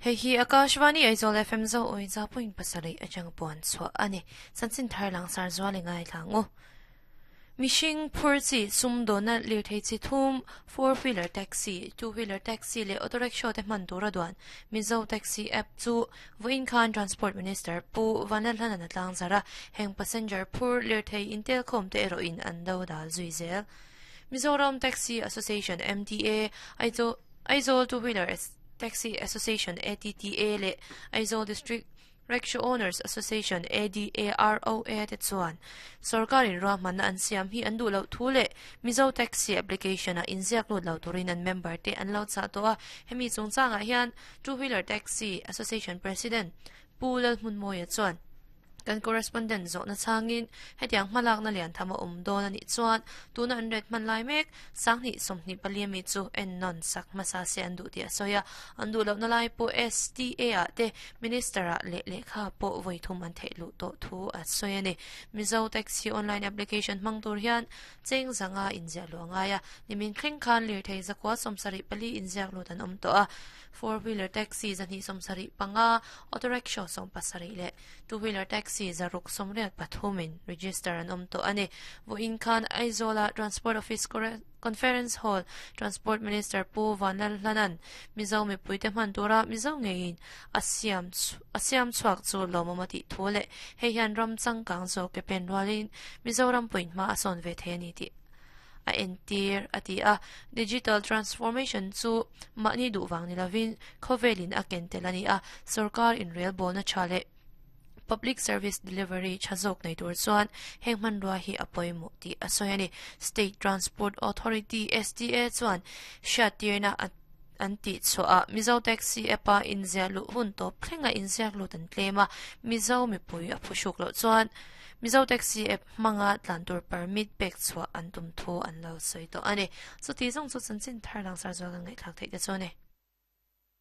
Hei hi Akashvani Aizawl FM zo awi za point pasarih atang puan chhuah a ni. Chanchin thar langsar zual i ngaithla ang u. Mihring phur chi sumdawnna lirthei chi thum, four wheeler taxi, two wheeler taxi leh auto rickshaw te hman tura duan Mizo Taxi app chu vawiin khan Transport Minister Pu Vanlalhlana'n a tlangzarh a, heng passenger phur lirthei intelkhawm te erawhin an do dal zui zel. Mizoram Taxi Association, MTA, Aizawl Two Wheeler Taxi Association, ATTA, leh Aizawl District Rickshaw Owners Association, ADAROA, te chuan sorkarin ruahmanna an siam hi an duh loh thu leh Mizo Taxi application-ah inziak lut lo turin an member te an lo chah tawh a. Hemi chungchangah hian Two Wheeler Taxi Association President Pu Lalhmunmawia chuan, Kan correspondent zawhna chhangin hetiang hmalakna lian tham a awm dawn a nih chuan tuna an ret hman lai mek sanghnih 24 ami chu ennawn sak hmasa se an duh tih a sawi a, an duh lohna lai pawh STA ah te Minister ah leh lehkha pawh vawi thum an theih luh tawh thu a sawi a ni. Mizo Taxi online application hmang tur hian cheng zanga inziah luh a ngai a, nimin thleng khan lirthei zakua 74 inziak lut an awm tawh a, four wheeler taxi 275, auto rickshaw 70 leh two wheeler taxi 683 in register an awm tawh a ni. Vawiin khan Aizawla Transport Office Conference Hall Transport Minister Pu Vanlalhlana'n Mizo mipuite hman tura Mizo ngeiin a siam a siam chhuak chu lawmawm a tih thu leh hei hian ram changkang zawk ke pen rualin Mizoram puin hma a sawn ve thei a ni tih a entir a ti a. Digital transformation chu mahni duh vang ni lovin khawvelin a ken tel a ni a, sorkar inrelbawlna tha leh public service delivery tha zawk nei tur chuan heng hmanrua hi a pawimawh tih a sawi a ni. State Transport Authority, STA, chuan hriattirna an tih chhuah a, Mizo Taxi app-a inziah luh hun tawp thlenga inziak lut an tlem a, Mizo mipui a phuhruk loh chuan Mizo Taxi app hmanga tlan tur permit pek chhuah an tum thu an lo sawi tawh a ni. Chuti zawng chu chanchin thar langsar zual kan ngaihthlak theih te chu a ni.